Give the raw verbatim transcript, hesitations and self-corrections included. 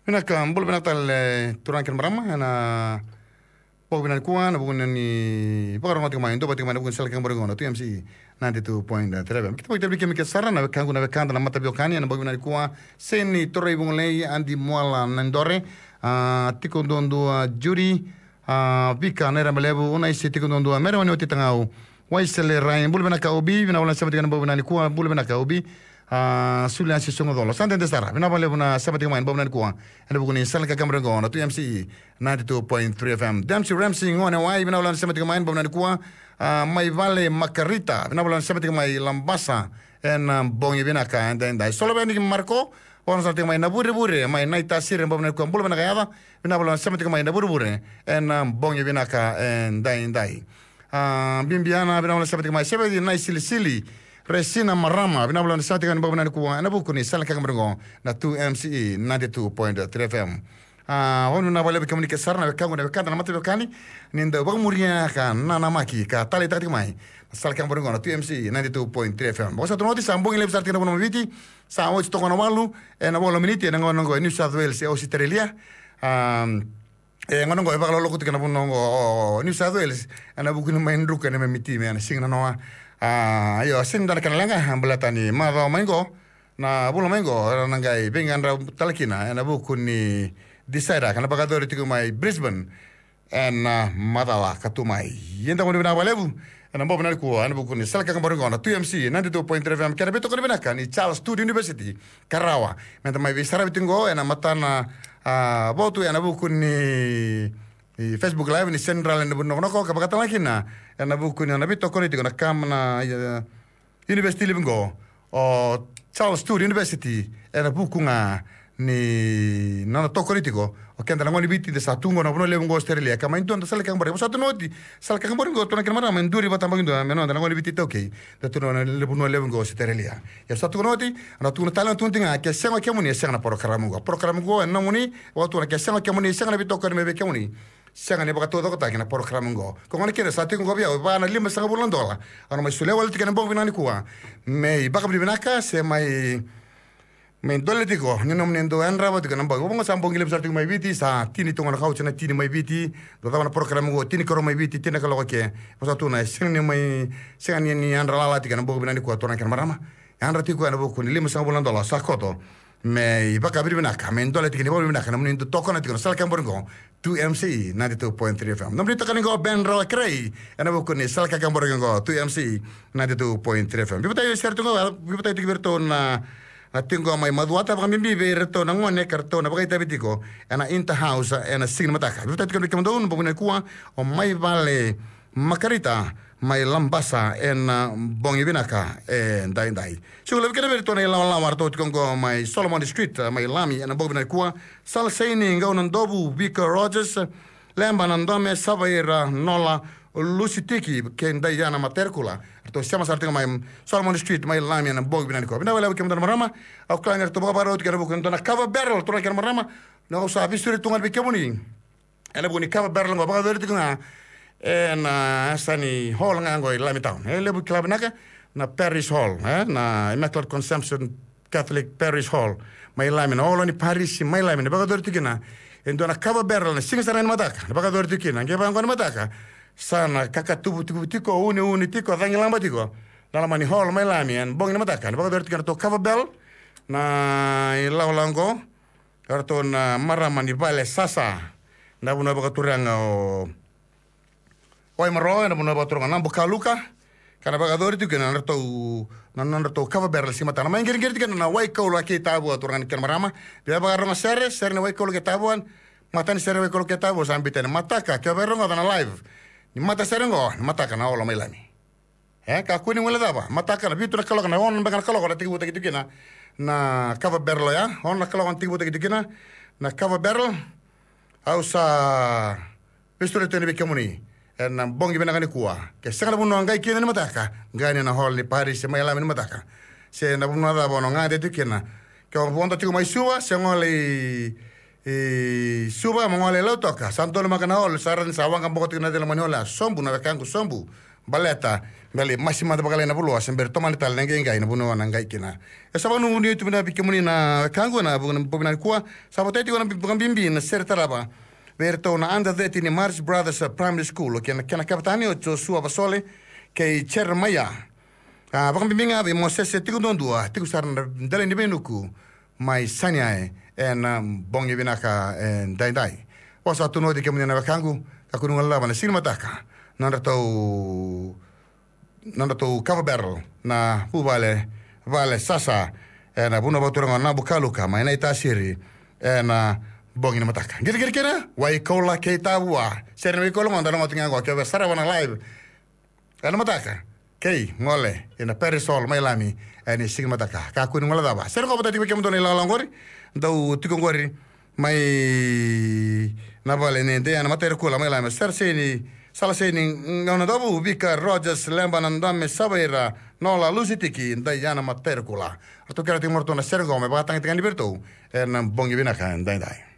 Vinaka, bula vinaka tale turaga kei na marama ena bogi vinaka nikua, ena vuku ni vakarorogo tiko mai, duavata tiko mai ena vuku ni sala ni kakaburaki qo na two M C E ninety-two point three F M. Keitou vakavinavinaka kemuni sara na wekaqu na wekada na mataveiwekani ena bogi vinaka nikua. Seni Torai Vugolei, Adi Muala Nadore, a, tiko duadua Juri, a, Vika Nairabalevu, Unaisi tiko duadua, Mere Wanioti Tagau, Waisele Rai, bula vinaka Obi, vinaka vakalevu na sema tiko ena bogi vinaka nikua, bula vinaka Obi. A, Suliasi Sogocolo, sa dede sara, vinaka vakalevu na sema tiko mai ena bogi vinaka nikua ena vuku ni sala ni kakaburaki qo na two M C E ninety-two point three F M. Dempsey Ramsey Gonewai, vinaka vakalevu na sema tiko mai ena bogi vinaka nikua. A, Maivale Makarita, vinaka vakalevu na sema tiko mai Labasa ena bogi vinaka edaidai. Soloveniki Marco, vakalevu na sema tiko mai Navurevure, mai Naitasiri ena bogi vinaka nikua, bula vinaka yaca, vinaka vakalevu na sema tiko mai Navurevure ena bogi vinaka edaidai. A, Bibiana, vinaka vakalevu na sema tiko mai. Seveti Naisilisili, Resina Marama, vinaka vakalevu na sema tiko mai ena bogi vinaka nikua ena vuku ni sala ni kakaburaki qo na two M C E ninety-two point three F M. A, au vinaka vakalevu vei kemuni kece sara na wekaqu na wekada na mataveiwekani, ni dau vakamuria ka nanamaki ka taleitaka tiko mai na sala ni kakaburaki qo na two M C E ninety-two point three F M. Vakasautu oti, sa bogi levu sara tiko ena vanua mai Viti, sa oti toka na walu ena walu na miniti ena gauna qo e New South Wales e Australia. A, e gauna qo e vakaloloku tiko ena vanua qo o New South Wales ena vuku ni mai druka na neimami timi ena siga nanoa. A, io, sega ni dua na kena leqa baleta ni macawa mai qo, na vula mai qo, era na qai veiqaravi tale kina ena vuku ni Decider ka na vakayacori tiko mai Brisbane ena macawa ka tu mai. Ia da gone vinaka vakalevu ena bogi vinaka nikua ena vuku ni sala ni kakaburaki qo na two M C E ninety-two point three F M, kei na veitokoni vinaka ni Charles Sturt University, ka rawa me da mai veisaravi tiko qo ena matana, a, votu ena vuku ni, ni Facebook Live ni Central ena vuku ni nokonoko, ka vakatalega kina ena vuku ni nona veitokoni tiko na kam na, e, university levu qo, o Charles Sturt University, ena vuku ga ni nona tokoni tiko o keda na gone ni Viti da sa tu qo na vanua levu qo Australia, ka mai dua na sala ni kakaburaki. Vosota tu na oti, sala ni kakaburaki qo, turaga kei na marama, e duri vata baki dua me noda na gone ni Viti iTaukei da tu na vanua levu qo Australia. Ia sa tu na oti, na tu na tale na tu na tiga, ke sega o kemuni e sega na porokaramu qo. Porokaramu qo e nomuni, vakatukuna, ke sega o kemuni e sega na veitokoni mai vei kemuni. Sega ni vakataucokotaki na porokaramu qo. Ko gona kina sa tiko qo vei au e va na limasagavulu na dola. Au na mai solia wale tiko ena bogi vinaka nikua me ivakavinavinaka se mai, mai dole tiko ni nomuni dau yadrava tiko ena bogi. Vaqo sa bogi levu sara tiko mai Viti, sa tini tu ga na kauti na tini mai Viti. Dau cava na porokaramu qo, tini karua mai Viti, tini na kaloko ke. Vosota tu na sega ni mai, sega ni, ni yadra lala tiko ena bogi vinaka nikua, turaga kei na marama. Yadra tiko ena vuku ni limasagavulu na dola sa koto me ivakavinavinaka, me dole tiko ni vakavinavinaka na nomuni dau tokona tiko na sala ni kakaburaki qo, two M C E ninety-two point three F M. Nomuni tokoni qo Ben Rawa Kerei ena vuku ni sala ni kakaburaki qo, two M C E ninety-two point three F M. Veivataki sere tu qo, veivataki tiko vei iratou na, na tiko qo mai Macuata, vakabibi vei iratou na gone ka ratou na vakaitavi tiko ena Inter House ena siga ni mataka. Veivataki tiko vei kemudou na bogi nikua, o Maivale Makarita mai Labasa ena bogi vinaka edaidai. Siga levu kina vei iratou na ilawalawa ratou tiko qo mai Solomon Street, mai Lami, ena bogi vinaka nikua. Sala Saini, Qau Nadovu, Vika Rogers, Leba Nadome, Savaira Nola, Lusi Tiki kei Daiana Materkula. Ratou sema sara tiko mai Solomon Street mai Lami ena bogi vinaka nikua. Vinaka vakalevu kemudou na marama. Au kila ni ratou vakavakarau tiko ena vuku ni dua na cover barrel, turaga kei na marama. Na au sa veisureti tu ga vei kemuni ena vuku ni cover barrel qo, vakayacori tiko ga ena yasa ni hall ga qo i Lami Town. E levu kila vinaka na Parish Hall, e, na Immaculate Conception Catholic Parish Hall mai Lami, na hall ni parisi mai Lami, na vakayacori tiko kina e dua na cover barrel na siga sara ga ni mataka, na vakayacori tiko kina. Qai vaqo ni mataka sa na kakatubu tiko, tiko, uneune tiko, cagilaba tiko na loma ni hall mai Lami ena bogi ni mataka, na vakayacori tiko kina na ratou cover barrel na ilawalawa qo. Ratou na marama ni vale sasa, na vanua vakaturaga o Waimaro, ena vanua vakaturaga o Nabukaluka, ka na vakayacori tiko kina na nodratou, na nodratou cover barrel siga mataka. Na mai qiriqiri tiko kina na Waikaulu kei Tavua, turaga kei na marama. Via vakarogo sere, sere ni Waikaulu kei Tavua, matai ni sere ni Waikaulu kei Tavua sa biuta ni mataka, ke o via rogoca na live ni matasere qo, ni mataka na hall mai Lami. E, kakua ni guilecava, mataka na vitu na kaloko, na ono beka na kaloko na tekivutaki tiko kina na cover barrel oya, ono na kaloko na tekivutaki tiko kina na cover barrel. Au sa veisureti yani vei kemuni ena bogi vinaka nikua. Ke sega na vanua qai kina ni mataka, qai yani na hall ni parisi mai Lami ni mataka. Se na vanua cava o na gade tiko kina. Ke o vodo tiko mai Suva, se gole i i Suva, mo gole i Lautoka, sa donumaka na hall, sa raica ni sa waqa boko tiko na cila mai ni hall ya. Sobu na wekaqu, sobu. Baleta Baleta masi mada vakalailai na vula, se bera tomani tale na qaiqai na vanua na qai kina. E sa vakanuinui tu vinaka vei kemuni na wekaqu ena bogi vinaka nikua. Sa votai tiko na vakabibi na sere tarava vei iratou na under thirteen ni Marist Brothers Primary School, kei na kena kavetani o Joshua Vasole kei Jeremiah. A, vakabibi ga vei Mosese Tikoduadua, tiko sara na dela ni veinuku mai Saineai ena bogi vinaka edaidai. Au sa tukuna oti kemuni na wekaqu, kakua ni guilecava na siga ni mataka na nodratou na nodratou kava barrel na vuvale, vale sasa ena vanua vakaturaga o Nabukaluka mai Naitasiri ena bogi ni mataka. Qiriqiri kina, Waikoula kei Tavua. Sere ni Waikoula qo da rogoca tiko ga qo, ke o sarava na live ena mataka, kei gole ina Perisol mai Lami ena siga ni mataka. Kakua ni guilecava. Sere qo vata tiko vei kemudou na ilakolako qori, dou tiko qori mai na vale nei Diana Matairukula mai Lami. Sere Seni, Sala Seni, Gauna Davu, Vika Rogers, Leba Nadame, Savaira, Nola Lusitiki, Diana Matairukula. Ratou kerea tiko mai ratou na sere qo me vakatagitaki vei iratou ena bogi vinaka edaidai.